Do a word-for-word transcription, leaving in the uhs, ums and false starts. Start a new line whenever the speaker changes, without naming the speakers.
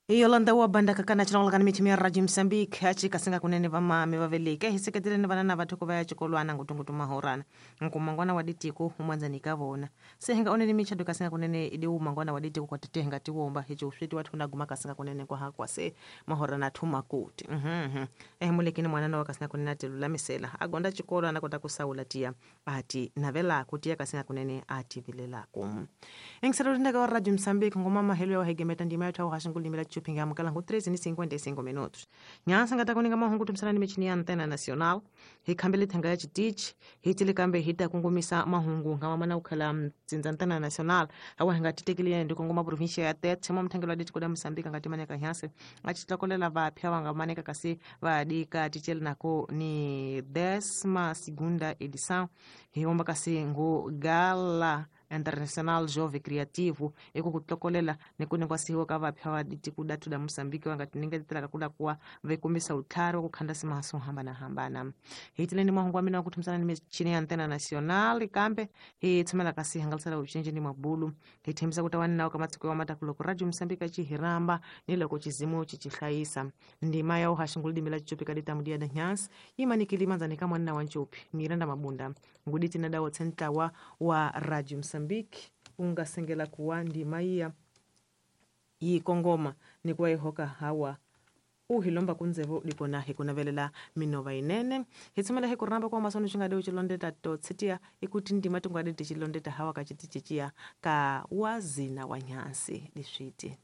Yolanda wa bandaka kana chilongolakani michimi ya Radio Mozambique achikasinga kunene vamami vaveleke hi seketeleni vana na vathu ku va ya xikolwana ngutungutu mahorana nkumangwana wa ditiko umwanzani ka vona se hinga oneni michado kasinga kunene idi umangwana wa ditiko kwa tete hinga tiwomba hicho uswiti wathu na guma kasinga kunene kwa hakwa se mahorana thuma kuti mhm eh mulekini mwana wa kasinga kunene atelulamisela agonda chikolo anakota kusaula tia ati navela kutia kasinga kunene ati vilelako engiselo ndaka wa Radio Mozambique ngoma mahelo ya hegemeta ndima yathu hashingulimela chupinga mukala ngu treze ni cinquenta e cinco minutos. Nyansa ngata kuninga mahungu tumsana ni michini ya Antena Nacional. Hikambele thanga ya chitichi. Hitile kambe hita kungumisa mahungu ngama mana ukhala mtsinza Antena Nacional. Awa hinga titekile ndi kunguma provincia ya Tete. Mwa mthangelo wa ditiko da Mozambique ngati maneka nyase. Achitlakolela vapya wanga maneka kasi vadika tichele nako ni décima segunda edição. Hiomba kasi ngu gala International Jovem Criativo ekukutlokolela nekunengwasiwa ka vapya va ditiko datu da Mozambique wangati ningetela kula kuwa vekumisa utlhari wa kukhanda simaso hambana hambana hitileni mahungu wa mina wa kuthumsana ni michini ya Antena Nacional kambe hi tshamela kasi hangalisela ucinji ni mabulu hi thembisa ku ta wa nawu ka matiko ya mataku loko Radio Mozambique chihiramba ni loko chizimu chichihlayisa ndima ya uhashingulidimela chichupi kadita mudia da nyasi imanikili manzani ka mwanna wa nchupi Miranda Mabunda nguditi na dawo tsentlawa wa Radio Mozambique ungasengela kuwa ndima iya yikongoma nikuwa ihoka hawa uhilomba kunzevo dikona hikunavelela minova inene hitsumela hikuramba kwa masono chingade uchilondeta totsitia ikuti ndima tungade tichilondeta hawa kachitichichia ka wazina wa nyansi diswiti.